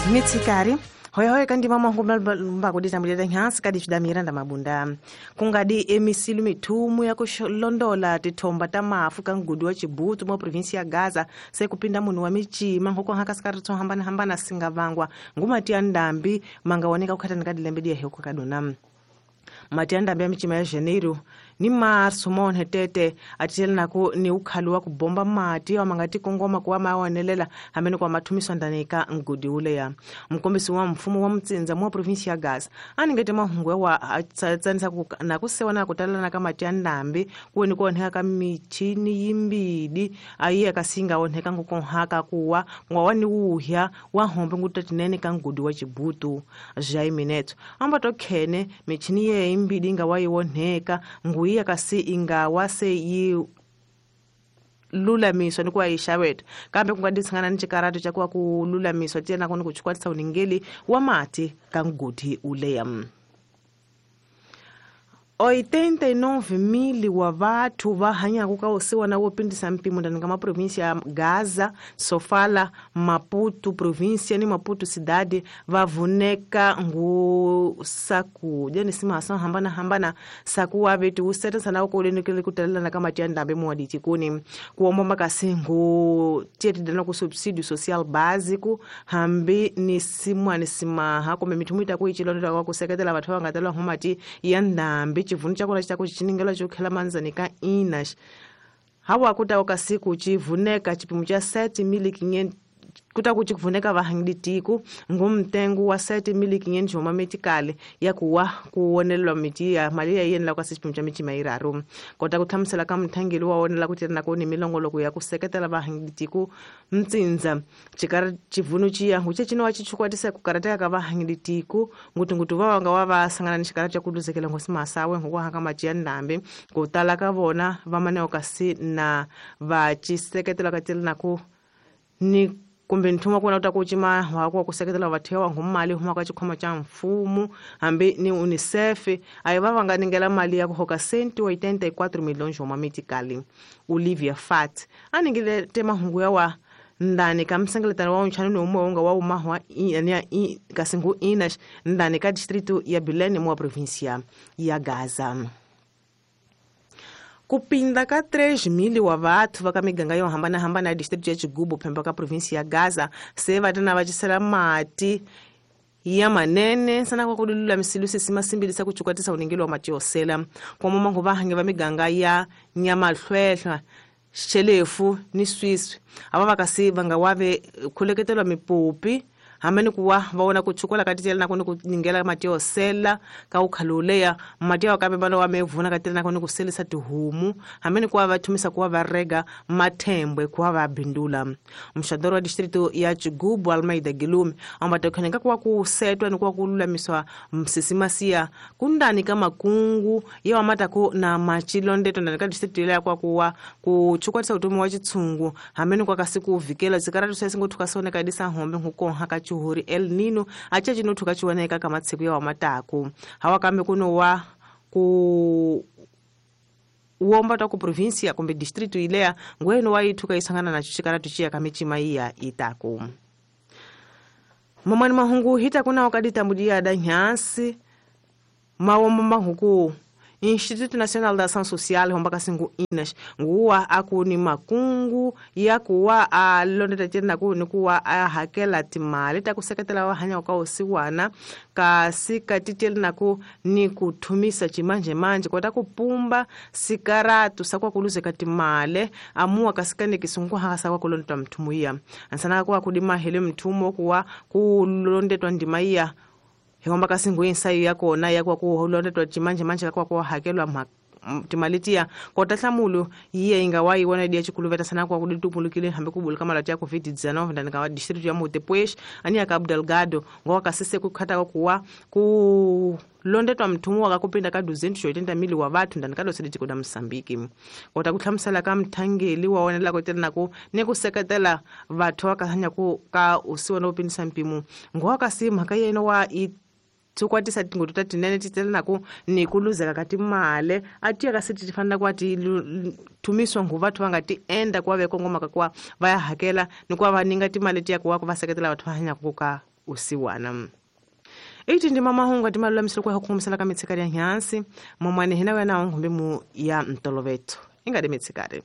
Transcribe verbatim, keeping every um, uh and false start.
Mitsikari hoya hoya kandi mama ngumba kuditambulira nyansi kadi chida Miranda Mabunda kungadi emisilu mithumu ya kulondola tithomba ta mafu ka ngudi wa Chibutu mwa provinsi ya Gaza se kupinda munhu wa michima ngoko haka sikari tso hambana hambana singavangwa ngumati ya ndambi mangaoneka kukhatani ka dilembe diya heko kadona mati ya ndambi ya michima ya Janeiro ni marso monhe tete atitele nako ni ukhalo wa kubomba mati wa mangati kongoma kuwa maonelela hamene kwa mathumiso ndanika ngudi uleya mkombisi wa mfumo wa mtsinza mwa provinsi ya Gaza aningete mahungwe wa tsanisa na kusewa na kutalana ka mati ya ndambi kuweni kuoneka ka michini yimbidi ayiye kasinga oneka ngukonhaka kuwa ngwawani uhya wa hombe ngutatinene ka ngudi wa Chibutu Jaimineto ambato khene michini ye imbidi ngawayiwoneka nguyi kasi ingawa se yi lulamiswa ni kuwa yixaveta kambe ku nga ditshangana ni xikarato xa kuwa ku lulamiswa tiyena kona ku chukwatisa uningeli wa mati ka ngudi uleya. oitenta e nove mil wa vathu va hanyaka ka usiwana wo pindisa mpimo ndani ka maprovinsi ya Gaza, Sofala, Maputo província ni Maputo cidade va vuneka ngu sakudya ni simasa hambana hambana sakuwa vetu useta sana ukolenekele kutalelana ka mati ya ndambe muwa ditikuni kuomba makasi ngu tietidana ku subsídio social básico hambi ni simwa ni simaha kumbe mithumu ita kuichilondela kwa kuseketela vathu va nga talwa ngu mati ya ndambe chivunu chakona chitako chichiningela chokhela manzani ka Inas hawa kutawo kasiku chivuneka chipimo cha sete mil quinhentos kutaku chikuvuneka vahangiditiku ngumtengo wa sete mil quinhentos homa metikale ya kuwa kuwonelelwa miti ya mali ya yenela kwa chipimo cha michima iraru kota kuthamusela ka mthangeli wa wonela kutirana koni milongoloko ya kuseketela vahangiditiku mtsinza chikari chivunu chiya nguche chino wa chichukwatisa kukarateka ka vahangiditiku ngutungutu va wanga wa va sangana ni xikara cha kuluzekela ngosi masawe ngokuhaka mati ya ndambi kutala ka vona vamaneo kasi na va chiseketela katirana ku ni kumbe nthuma kuna uta kuchima wa ku seketela vathiwa ngumali huma ka chikhoma cha mfumo hambi ni UNICEF ayiva va nga ningela mali ya ku hoka cento e oitenta e quatro milhões homa metikali Olivia Fat aningile tema hungu ya wa ndani ka msengeletano wa unchani no umwe unga wa umahwa ya kasingu Inas ndani ka distrito ya Bilene mwa província ya Gaza. Kupinda ka três mil wa vathu va ka miganga yo hambanahambana ya distrito ya Chigubo phemba ka provinsi ya Gaza se va tana va cisela mati ya manene sana kwa kululamisilo sisima simbilisa kuchukwatisa uningelo wa mati yosela kwa mamangu va hange va miganga ya Nyamahlwehlwa Xelefu ni Swiswi ava va kasi va nga wave khuleketelwa mipopi hamene kuwa vaona kuchukula katitela na kuni kuningela mati yosela ka ukhaluleya mati ya kambe bana wa mevuna katitela na kuni kuselisa tihumu hamene kuwa vathumisa kuwa varega mathembwe kuwa va bindula mxadoro wa distrito ya Chigubo Almeida Gilume ambatokhaneka kuwa kusetwa ni kuwa kululamiswa msisimasiya kundani ka makungu ya wamatako na machilondeto ndani ka distrito ya kwa kuwa kuchukwatisa utomi wa chitsungu hamene kwa kasi kuvikela zikaratu sesingothuka soneka disa hombe nkukonha ka chuhuri El Nino acha chinothuka chiwoneka ka matsiku ya wamataku hawa kambe kuno wa ku uomba ta ku província kumbe distrito ilea ngweno wa ithuka isangana na chikaratu chiya kamichima iya itaku mamani mahungu hita kuna wakaditambudia da nyansi mawomba mahuku Instituto Nacional da Ação Social homba kasingu Inas nguwa akuni makungu ya kuwa alondeta tena ku ni kuwa ahakela timali ta kuseketela wa hanya ka usiwana kasi katiteli naku ni kuthumisa chimanje manje kota kupumba sikaratu sakwa kuluzeka timale amua kasikane kisungu hasa kwa kulondeta mtumuia ansana kwa kudima hele mtumo kuwa kulondetwa ndima Homba kasingu insayo yako na yakwa kuholondetwa chimanje manje kwa kwa hakelwa timalitia kota hlamulu yiye ingawa iwona dia chikuluveta sana kwa kuditupulukile hambe kubulika malati ya covid dezenove ndani ka district ya Montepuez ani ya Cabo Delgado ngowa kasise kukhata kuwa ku londetwa mthumu wakakupinda ka duzentos e oitenta mil wa vathu ndani ka dosele tiko da Mozambique kota kuhlamusela ka mthangeli wa wonela ku tirana ku ni ku seketela vathu va ka hanya ku ka usiwana wo pindisa mpimo ngowa kasi mhaka yena wa i tsukwatisa tingoto ta tinene ti tselanako ni ku luzeka ka timale a tiya ka siti ti fanela ku va ti thumiswa ngu vathu va nga ti enda ku va ve kongomaka ku va ya hakela ni ku va va ninga timali tiya ku va ku va seketela vathu va hanyaka ka usiwana. Iti ndi mamahungu atimalulamisile kwa hukumisela ka mitsikari ya nhansi momwane hina wena onkhumbi mu ya ntoloveto ingadi mitsikari.